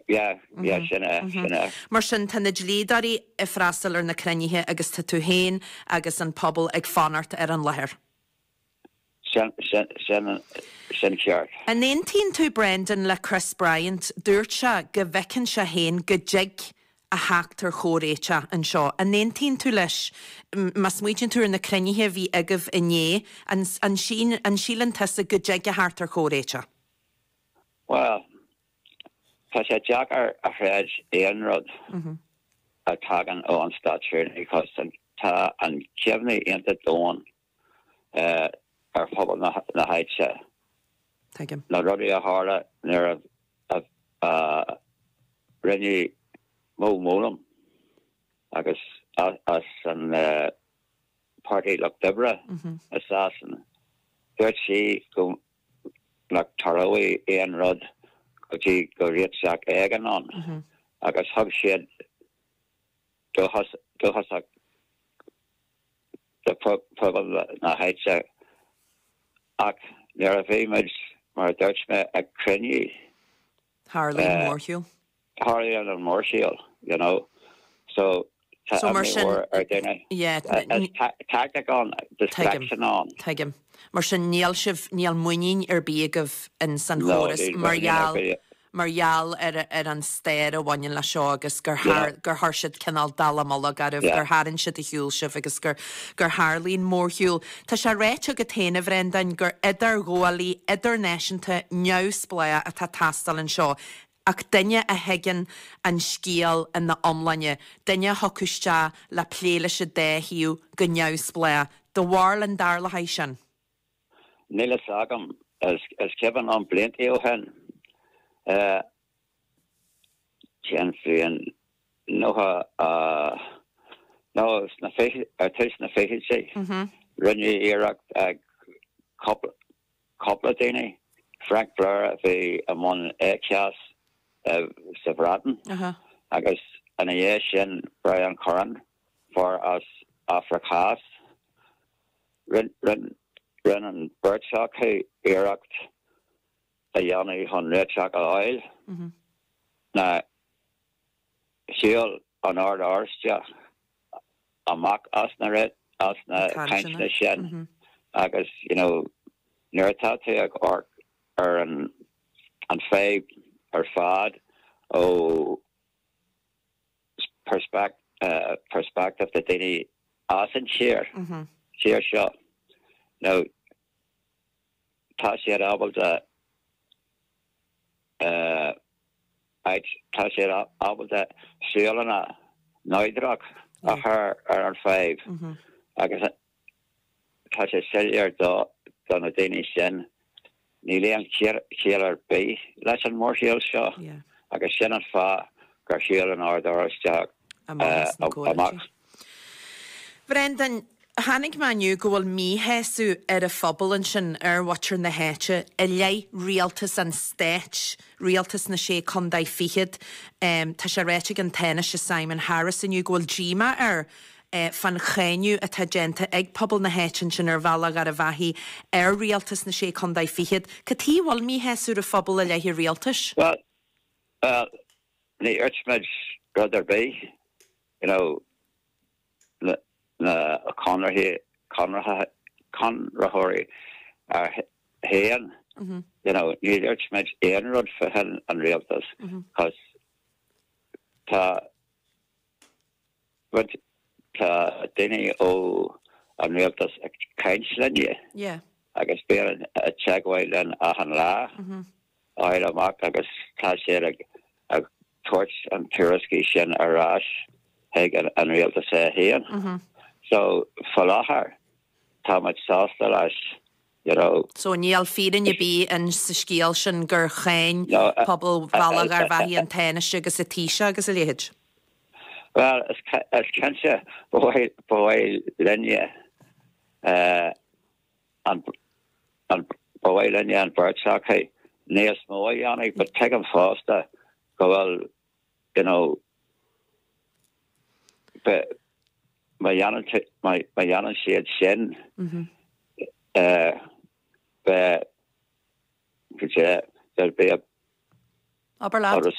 Yeah, yeah, sin é, sin é. Mar sin, tá na dlíodóirí ag freastal ar na cruinnithe agus tá tú féin agus an pobal ag fanacht ar an láthair. Sin, sin, sin, sin ceart. An aontaíonn tú, Brendan, le Chris Bryant? Dúirt sé go bhfeiceann sé féin go dtig a theacht ar chomhréiteach anseo. An aontaíonn tú leis? Má smaoitíonn tú ar na cruinnithe a bhí agaibh inné, an, an síleann tusa go dtig a theacht ar chomhréiteach? Bhuel, tá sé deacair a chreid aon rud a tagann ó an Státrúnaí 'cause tá an cuimhne iontach domhain ar phobal na háite. Tuigim. Na rudaí a tharla nuair a rinneadh Mo Mowlam agus as an Páirtí Lucht Oibre i Sasana, dúirt sí go nach dtarlóidh aon rud go dtí go réiteach éigin ann agus thug siad dóchasach do phobal na háite ach nuair a bhí muid, mar a dúirt mé, ag cruinniú. Tharlaigh an mórshiúl. Tharlaigh an mórshiúl, you know. So tá imní mhór ar dhaoine. Is tactic ann, distraction ann. Tuigim. Mar sin níl sibh, níl muinín ar bith agaibh in san chóras mar gheall mar gheall ar ar an stair a bhaineann leis seo agus gur gur chuir siad cineál dallamullóg oraibh, gur tharraing siad ar shiúl sibh agus gur gur tharlaigh an mórshiúl. Tá sé ráite agat féin, a Bhreandáin, gur idirghabhálaí idirnáisiúnta neamhspleách atá ag teastáil anseo, ach duine a thuigeann an scéal ina iomláine, duine a thiocfadh isteach le plé leis an dá thaobh go neamhspleách. Do bharúil an dtarlóidh sin? Níl fhios agam. Is cuimhin liom blianta ó shin, cén bhliain, 90, nó sna fichidí, ar tús na fichidí, rinneadh iarracht ag cúpla daoine, Frank Blair a bhí i mbun ECAS sa Bhreatain agus ina dhiaidh sin Brian Curran, fear as Afraic Theas. Rinne an bheirt acu iarracht a dhéanamh chun réiteach a fháil. Now, shiúil an Ord Oráisteach amach as na as na cainteanna sin agus, you know, nuair atá tú ag amharc ar an an fadhb ar fad ó perspective de daoine as an tír, tír seo. Now, tá siad ábalta tá siad ábalta súileanna neodrach a chur ar an fadhb agus tá sé soiléir do do na daoine sin níl aon chiall ar bith leis an mórshiúl seo agus sin an fáth gur shiúil an Ord Oráisteach amach. Bhrendan, chonaic mé inniu go bhfuil míshásamh ar an phobal ansin, ar mhuintir na háite, i leith rialtas an stáit, rialtas na Sé Contae Fichead. Tá sé ráite ag an Tánaiste Simon Harris inniu go bhfuil díomá air fán cháineadh atá déanta ag pobal na háite ansin ar Bhealach Gharbhachaidh ar rialtas na Sé Contae Fichead. Cad chuige a bhfuil míshásamh ar an phobal i leith an rialtais? Bhuel, bhuel, ní dhúirt muid rud ar bith, you know, na, na conarthaí, conartha, conraitheoirí féin, you know, ní dhúirt muid aon rud fá choinne an rialtas, 'cause tá, But tá daoine ó an rialtas ag caint linne agus bíonn i dteagmháil linn achan lá, a fháil amach agus tá siad ag tabhairt an tuairiscí sin ar ais chuig an rialtas é féin. So faoi láthair tá muid sásta leis, you know. So níl fírinne ar bith in sa scéal sin gur cháin pobal Bhealach Gharbhachaidh an Tánaiste agus an Taoiseach agus a leithéid? Bhuel, is cinnte, ba mhaith linne an, ba mhaith linne an bheirt acu níos mó a dhéanamh, but tuigim fosta go bhfuil, you know, má dhéanann, má dhéanann siad sin, beidh, there'll be a, Abair leat.